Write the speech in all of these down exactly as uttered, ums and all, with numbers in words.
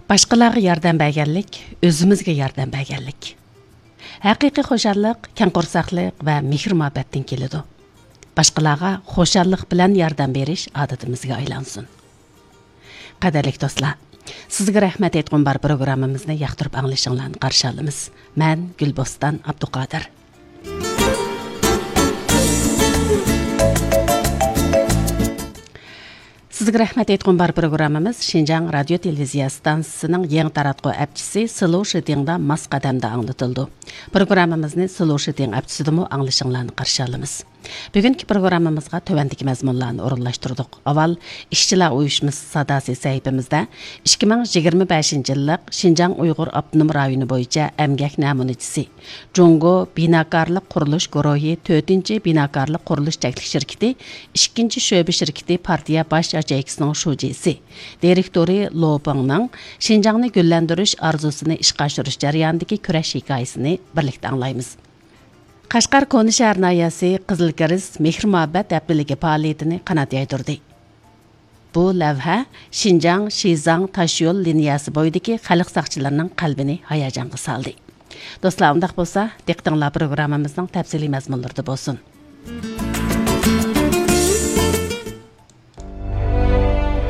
باشقىلارغا ياردەم بەرگەنلىك ئۆزىمىزگە ياردەم بەرگەنلىك. ھەقىقىي خۇشاللىق كەڭ قورساقلىق ۋە مېھىر-مۇھەببەتتىن كېلىدۇ. باشقىلارغا خۇشاللىق بىلەن ياردەم بېرىش ئادىتىمىزگە ئايلانسۇن. قەدىرلىك دوستلار، سىزگە رەھمەت ئېيتقۇم بار پروگراممىمىزنى ياقتۇرۇپ ئاڭلىشىڭلارنى قارشى ئالىمىز. مەن گۈلبوستان ئابدۇقادىر. سىزگە رەھمەت ئېيتقۇم بار پروگراممىمىز شىنجاڭ رادىيو تېلېۋىزىيە ئىستانسىسىنىڭ يېڭى تاراتقۇ ئەپچىسى سلو شىتىڭدا ماس قەدەمدە ئاڭلىتىلىدۇ. پروگراممىمىزنى سلو شىتىڭ ئەپچىسىدىمۇ ئاڭلىشىڭلارنى قارشى ئالىمىز. بۈگۈنكى پروگراممىمىزغا تۆۋەندىكى مەزمۇنلارنى ئورۇنلاشتۇردۇق. ئاۋۋال ئىشچىلار ئۇيۇشمىسى ساداسى سەھىپىمىزدە ئىككى مىڭ يىگىرمە بەشىنچى يىللىق شىنجاڭ ئۇيغۇر ئاپتونوم رايونى بويىچە ئەمگەك نەمۇنىچىسى، جۇڭگو بىناكارلىق قۇرۇلۇش گۇرۇھى تۆتىنچى بىناكارلىق قۇرۇلۇش چەكلىك شىركىتى ئىككىنچى شۆبە شىركىتى پارتىيە باش ياچېيكىسىنىڭ شۇجىسى، دىرېكتورى لو بېڭنىڭ شىنجاڭنى گۈللەندۈرۈش ئارزۇسىنى ئىشقا ئاشۇرۇش جەريانىدىكى كۈرەش ھېكايىسىنى بىرلىكتە ئاڭلايمىز. قەشقەر كونا شەھەر ناھىيەسى قىزىل كىرېست مېھىر-مۇھەببەت ھەپتىلىكى پائالىيىتىنى قانات يايدۇردى. بۇ لەۋھە شىنجاڭ، شىزاڭ تاشيول لىنىيەسى بويىدىكى خەلق ساقچىلىرىنىڭ قەلبىنى ھاياجانغا سالدى. دوستلار، ئۇنداق بولسا، دىققىتىڭلار پروگراممىمىزنىڭ تەپسىلىي مەزمۇنلىرىدا بولسۇن.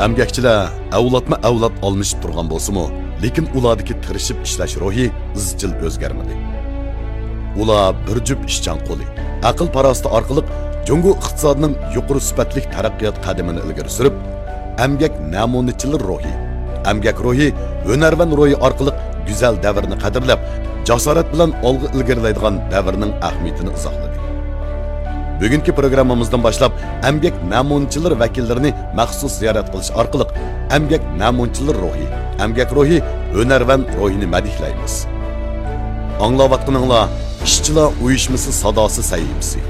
ئەمگەكچىلەر ئەۋلادمۇ ئەۋلاد ئالمىشىپ تۇرغان بولسىمۇ، لېكىن ئۇلاردىكى تىرىشىپ ئىشلەش روھى ئىزچىل ئۆزگەرمىدى. ئۇلار بىر جۈپ ئىشچان قولى، ئەقىل-پاراسىتى ئارقىلىق جۇڭگو ئىقتىسادىنىڭ يۇقىرى سۈپەتلىك تەرەققىيات قەدىمىنى ئىلگىرى سۈرۈپ، ئەمگەك نەمۇنىچىلىرى روھى، ئەمگەك روھى، ھۈنەرۋەن روھى ئارقىلىق گۈزەل دەۋرنى قەدىرلەپ، جاسارەت بىلەن ئالغا ئىلگىرىلەيدىغان دەۋرنىڭ ئەھمىيىتىنى ئىزاھلىدى. بۈگۈنكى پروگراممىمىزدىن باشلاپ، ئەمگەك نەمۇنىچىلىرى ۋەكىللىرىنى مەخسۇس زىيارەت قىلىش ئارقىلىق، ئەمگەك نەمۇنىچىلىرى روھى، ئەمگەك روھى، ھۈنەرۋەن روھىنى مەدھىيلەيمىز. ئاڭلاۋاتقىنىڭلار ئىشچىلار ئۇيۇشمىسى ساداسى سەھىپىسى.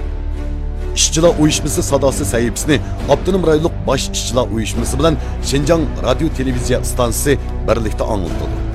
ئىشچىلار ئۇيۇشمىسى ساداسى سەھىپىسىنى ئاپتونوم رايونلۇق باش ئىشچىلار ئۇيۇشمىسى بىلەن شىنجاڭ رادىيو تېلېۋىزىيە ئىستانسىسى بىرلىكتە ئاڭلىتىدۇ.